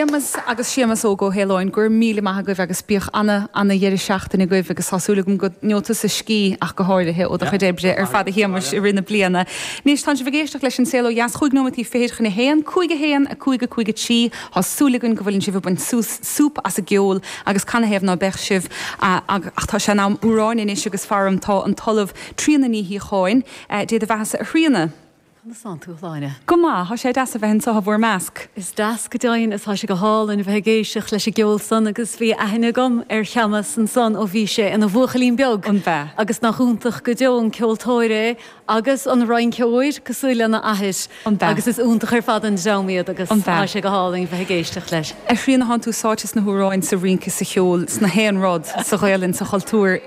Séamus agus Séamus Óg Ó hAoláin, go raibh míle maith agaibh agus bíodh ana, ana dheireadh seachtaine agaibh agus tá súil agam go ngeobhaidh tusa scíth ach go háirithe ó do chuid oibre ar fad a Shéamuis i rith na bliana. Anois tánn sibh ag éisteacht leis An Saol Ó Dheas, chúig nóimeataí fichid chun a haon, 5 1, 5 5 3, Tá súil againn go bhfuileann sibh ag baint súp as an gceol agus canathaobh ná beadh sibh ach tá sé in am amhráin anois agus faram tá an tOllamh Tríona Ní Shíocháin, Dé do bheathasa a Thríona. Conas tánn tú, a Shláine? Go maith, tá sé deas a bheith anseo i bhur measc. Is deas go deimhin is tá sé go hálainn a bheith ag éisteacht leis an gceol san agus bhí aithne agam ar Sheamas ansan ó bhí sé ina bhuachaillín beag. An b'ea? Agus nach iontach go deo an ceoltóir é Agus an rinceoir, cosúil lena athair. An b'ea? Agus is iontach ar fad an dream iad agus An b'ea? tá sé go hálainn bheith ag éisteacht leis. A Thríona, thánn tú sáite sna hamhráin, sa rince, sa cheol, sna haon rud, sa Ghaelainn, sa chultúr,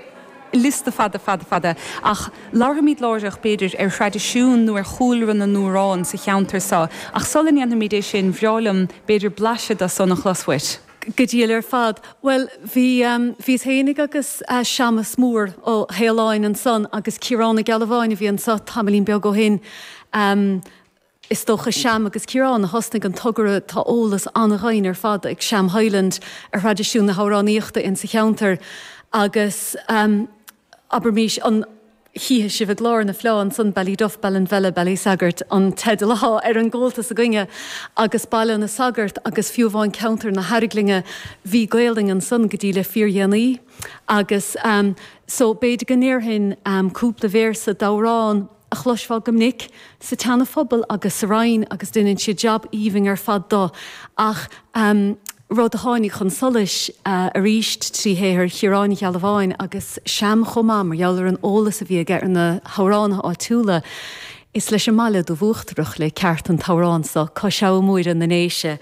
liosta fada, fada, fada. Ach labharfaimid láithreach, b'fhéidir, ar thraidisiún nó ar chúlra na n-amhrán sa cheantar seo. Ach sula ndéanfaimid é sin, bhreá liom, b'fhéidir, blaiseadh de san a chlos uait. Go diail ar fad. Bhuel, bhí, bhíos fhéinig agus Seamus Mór Ó hAoláin ansan agus Ciarán Ó Gealbháin a bhí anso tamaillín beag ó shin. Is dócha Seam agus Ciarán a thosnaigh an togra, tá eolas an-dhoimhin ar fad ag Seam Hyland ar thraidisiún na hamhránaíochta insa cheantar agus, abraimís, an chífidh sibh i gclár na Fleá ansan, Ballyduff, Ballinvella, Ballysaggart an teideal athá ar an gcomhaltas againne, agus Baile na Sagart agus fiú amháin ceantar na hArglainne, bhí Gaolainn ansan go dtí le fíordhéanaí agus so b'fhéidir go ndéarfainn cúpla véarsa d'amhrán a chloisfeá go minic sa tSeana-Phobal agus sa Rinn agus deineann siad jab aoibhinn ar fad do ach rud a tháinig chun solais arís trí shaothar Chiaráin Uí Ghealbháin agus Seam chomh maith mar gheall ar an eolas a bhí aige ar na hamhránaithe áitiúla. Is leis an mbaile Dubh Uachtarach le ceart an t-amhrán so, Cois Abha Móire na nDéise.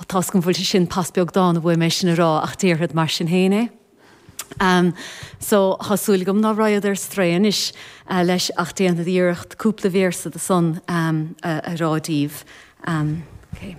Tá's agam go bhfuil sé sin pas beag dána uaim é sin a rá ach déarfad mar sin féin é. So, thá súil agam ná raghad ar strae anois leis ach déanfad iarracht cúpla véarsa de san a rá díbh. Ok.